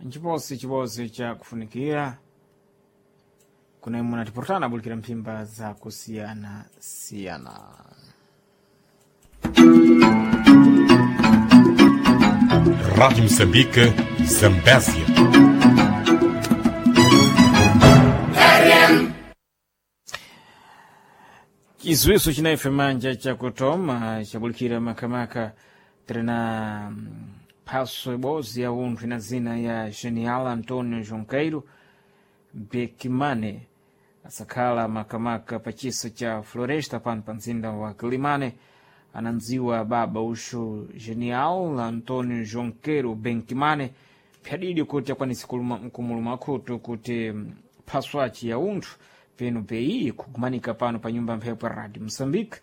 Nchiposi chiposi cha kufunikira kuna imwe natipurutana abulikira mphimba za kusiyana-siyana. Rádio Moçambique, Zambésia. Chizwiso chinaife manja chakutoma chabulikira makamaka tirina phaso ibodzi ya unthu ina zina ya Genial Antonio Junqueiro Bekimane, asakhala makamaka pa chisa cha Floresta pano pa mzinda wa Kilimane. Anandziwa baba uxu Genial Antonio Junqueiro Benkimane pyadidi kuti akwanise kumuluma khutu kuti phaso aci ya unthu penu peyi kugumanika pano pa nyumba mphepo ya Radio Moçambique.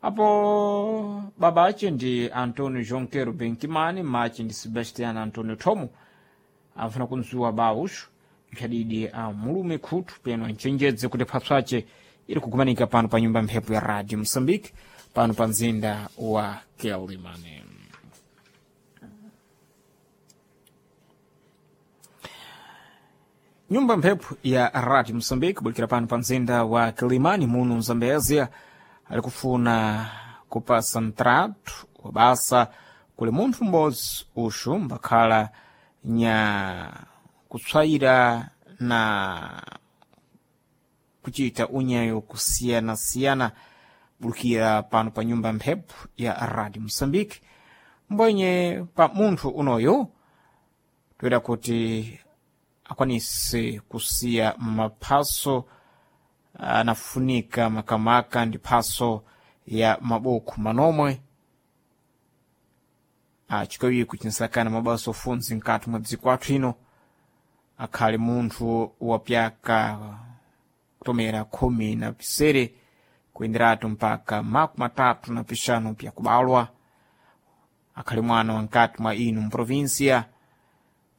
Apo baba ace ndi Antonio Junqueiro Benkimane, mace ndi Sebastiano Antonio Thomo. Amfuna kunzuwa ba uxu mphadidi a mulume khutu peno anchenjedze kuti phaso ace iri kugumanika pano pa nyumba mphepo ya Radio Moçambique pano pa mzinda wa Quelimane. Nyumba mphepo ya Radio Moçambique bulikira pano pa mzinda wa Kilimani muno Mzambezia alikufuna kupasa mtratu wa basa kuli munthu m'bodzi uxu mbakhala nya kutswayira na kuchita unyayo kusiyana-siyana bulikira pano pa nyumba mphepo ya Radio Moçambique. Mbwenye pa munthu unoyo toera kuti akwanise kusiya maphaso anafunika makamaka ndi phaso ya mabuku manomwe achikawiko chinsakana mabasa ofunzi mkati mwa dziko athu ino, akhale munthu wapyaka kutomera 17 kuyenderatu mpaka 35 pyakubalwa, akhale mwana wa mkati mwa inu mprovinsia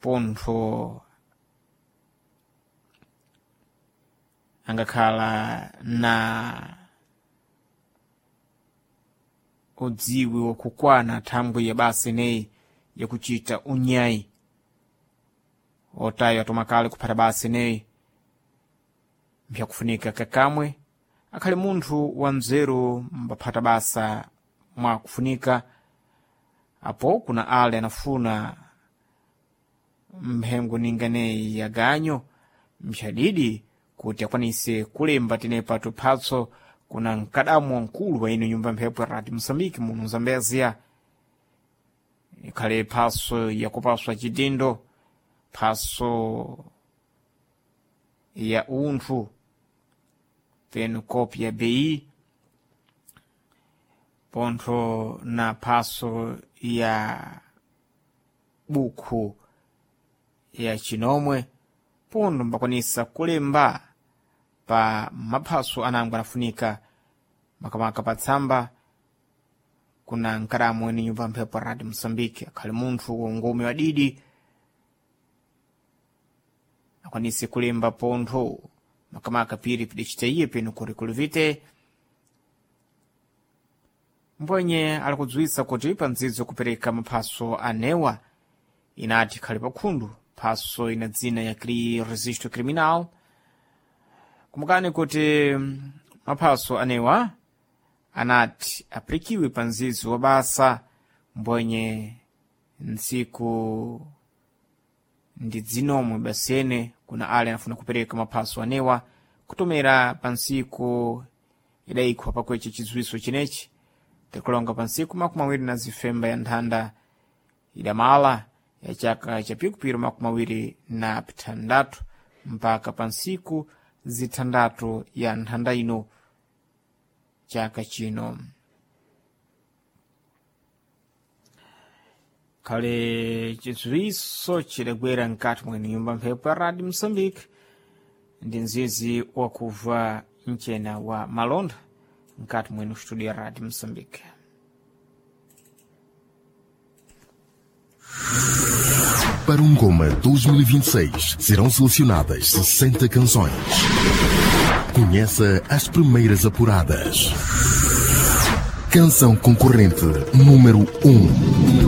pontho angakhala na udziwi wakukwana thangwi ya basa ineyi yakuchita unyayi otayo atomakale kuphata basa ineyi mpyakufunika kakamwe akhale munthu wa mzeru mbaphata basa mwakufunika. Apo kuna ale anafuna mphengo ninganeyi ya ganyo mphadidi kuti akwanise kulemba tenepa tuphatso kuna mkadamu wamkulu wa ino nyumba mphepo ya Radio Moçambique muno Zambezia, ikhale phaso yakupaswa chidindo, phaso ya unthu penu kopi ya BI pontho na phaso ya bukhu ya chinomwe pontho mbakwanisa kulemba pa maphaso anango anafunika makamaka pa tsamba kuna nkadamu ene nyumba mphepo ya Radio Moçambique. Akhale munthu wongome wadidi akwanise kulemba pontho makamaka piri pidacita iye peno kurikuluvite mbwenye alikudziwitsa kuti pa ndzidzo kupereka maphaso anewa inati khale pakhundu phaso ina dzina ya registro criminal. Kumbukani kuti maphaso anewa anati apirikiwe pa nzidzo wa basa mbwenye ntsiku ndi dzinomwe basene kuna ale anafuna kupereka maphaso anewa kutomera pa ntsiku idayikhwa pakweche chidziwitso chinechi tikulonga pa ntsiku 25 ya nthanda idamala ya chaka cha pikupiro 26 mpaka pa ntsiku zithandatu ya nthanda ino chaka chino. Khale chidziwitso chidagwera mkati mwene nyumba mphepo ya Radio Moçambique ndi mzizi wakubva mchena wa malonda mkati mwene studio ya Radio Moçambique. Para um Goma 2026 serão selecionadas 60 canções. Conheça as primeiras apuradas. Canção concorrente número 1.